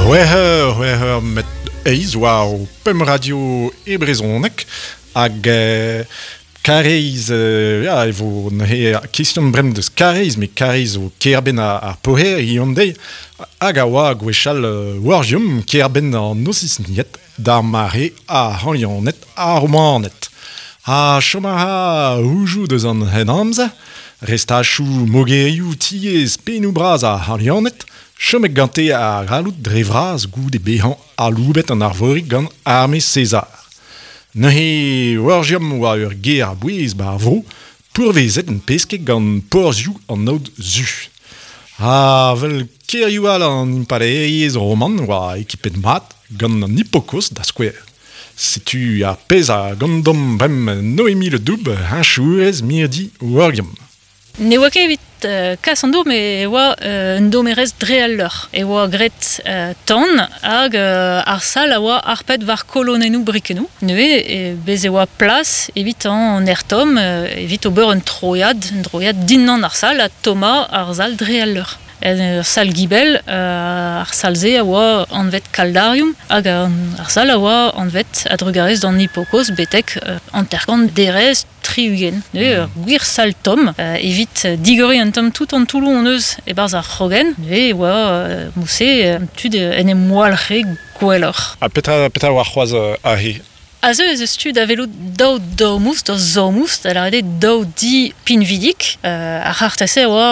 C'hwec'h eur, c'hwec'h eur met eizh war ho pemp radio e brezhoneg hag Kareiz, ya, e vo neuze question bremañ deus Kareiz, met Kareiz zo kêr-benn ar Poher hiziv-an-deiz, hag a oa gwechall Wargium, kêr-benn an Osisnied, d'ar mare ar C'halianed ha Romaned. Ha chom a ra houzoù deus an Henamzer, restachoù mogerioù tiez pennoù-bras ar C'halianed, chomet gante ar galloud dre vras goude bezañ aloubet an Arvorig gant arme Caesar. Neuze Wargium oa ur gêr a-bouez 'ba ar vro, pourvezet en pesked gant porzhioù an aod zu. Ha 'vel kêrioù all an impalaeriezh roman oa ekipet mat gant an hipokost da skouer. Setu ar pezh a gondom bremañ Noémie Le Doub, heñchourez mirdi Wargium. Ne oa ket evit kas an dour, met e oa un domerezh dre al leur. E oa graet tan hag ar sal a oa harpet war kolonennoù brikennoù. Neuze bez e oa plas evit an aer tomm evit ober un troiad, un droiad dindan ar sal ha tommañ ar sal dre al leur. En ur sal-gibell, ar sal-se a oa anvet Caldarium hag ar sal a oa anvet a-drugarez d'an hipokost betek 50 derez 60. Neuze ur gwir sal tomm evit digoriñ un tamm tout an toulloù hon eus e-barzh ar c'hrogenn. Neuze e oa mouse tud en em walc'he gwelloc'h. Ha petra petra oa c'hoazh aze? Aze ez eus tu da welout daou domous, daou zomous, da lavaret eo daou di pinvidik. Ar c'harter-se a oa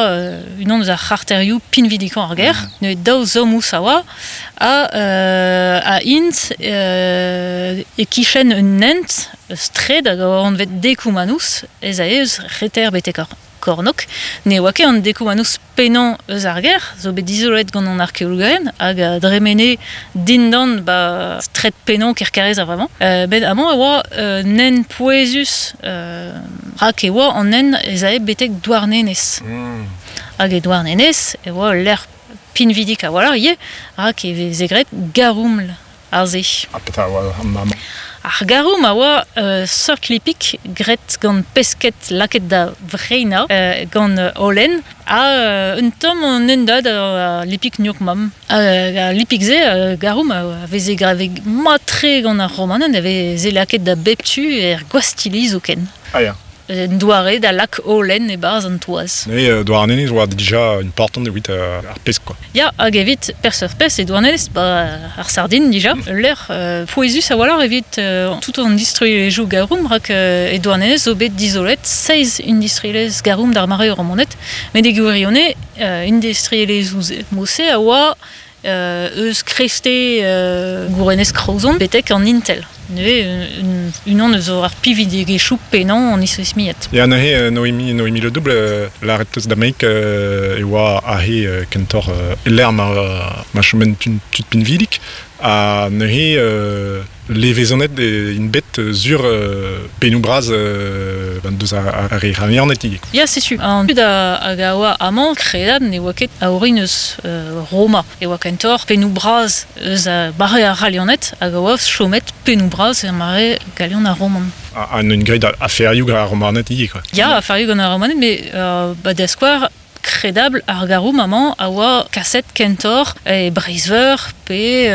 unan eus ar c'harterioù pinvidikañ ar gêr. Neuze daou zomous a oa ha ha int e-kichen un hent straed hag a oa anvet Decumanus ez ae eus reter betek ar kornôg. Ne oa ket an Decumanus pennañ eus ar gêr, zo bet dizoloet gant an arkeologerien hag a dremene dindan ba straed pennañ Kerkarez a-vremañ. Bet amañ e oa un hent pouezus rak e oa an hent ez ae betek Douarnenez. Hag e Douarnenez e oa ul lec'h pinvidik a-walc'h ivez rak e veze graet garouml aze. Ha petra oa an amañ? Ar garoum a oa seurt lipig graet gant pesked lakaet da vreinañ gant holen ha un tamm an hendad a lipig gnoc'h-mamm. Al lipig-se, garoum, a veze graet mat-tre gant ar Romaned, a veze lakaet da bep tu er gwastilli zoken. Ah ya. Un doare da lak holen e-barzh an toaz. Neuze Douarnenez oa dija important evit ar pesk quoi. Ya, hag evit peseurt pesk e Douarnenez, ba ar sardin dija. Ul lec'h pouezus a-walc'h evit tout an distruilhezhioù garoum, rak e Douarnenez zo bet dizolet seizh industrielezh garoum d'ar mare romanet. Met e gwirionez, industrielezhioù mod-se a oa eus kreiste gourenez Kraozon betek an Intel. Neuze unan eus ar pividigezhioù pennañ an isismiad. Ya neuze Noémie, Noémie Le Double, lâret teus da Mike e oa aze kentoc'h e-lec'h ma, ma choment tud pinvidik ha neuze levezonet int bet sur pennoù bras deus ar re c'halianed ivez. Ya, setu. An dud hag a oa amañ kredabl ne oa ket a orin eus Roma. E oa kentoc'h pennoù bras eus mare ar C'halianed hag a oa chomet pennoù bras er mare galian ha roman. Ha n'int graet aferioù gant ar Romaned ivez, quoi. Ya, aferioù gant ar Romaned, met ba da skouer, Kredabl ar garoù amañ a oa kaset kentoc'h e Breizh-Veur pe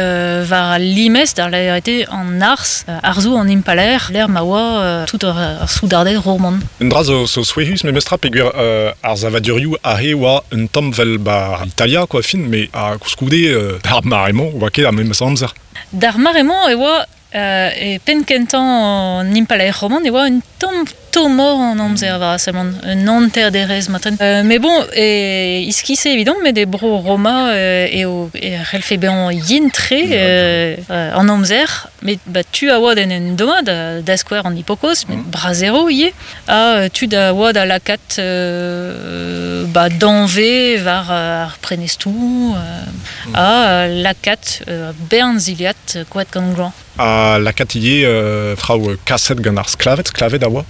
war al limez da lavaret eo an arz, arzoù an impalaer, lec'h ma oa tout ar soudarded roman. Un dra zo, zo souezhus memestra peogwir ar savadurioù aze oa un tamm 'vel 'ba Italia quoi fin met ha koulskoude ar mare-mañ oa ket ar memes amzer. D'ar mare-mañ e oa E penn-kentañ an impalaer roman e oa un tamm tommoc'h an amzer war a seblant, un hanter-derez matren. Met bon, e iskis eo evidomp, met e bro Roma eo e c'hellfe bezañ yen-tre an amzer. Met ba tu a oa d'en em dommañ, da, da skouer an hipokoz, met bras-ero ivez. Ha tud a oa da lakaat ba danvez war ar prenestroù ha lakaat bern zilhad koad gant gloan. Ha lakaat ivez traoù kaset gant ar sklaved, sklaved a oa.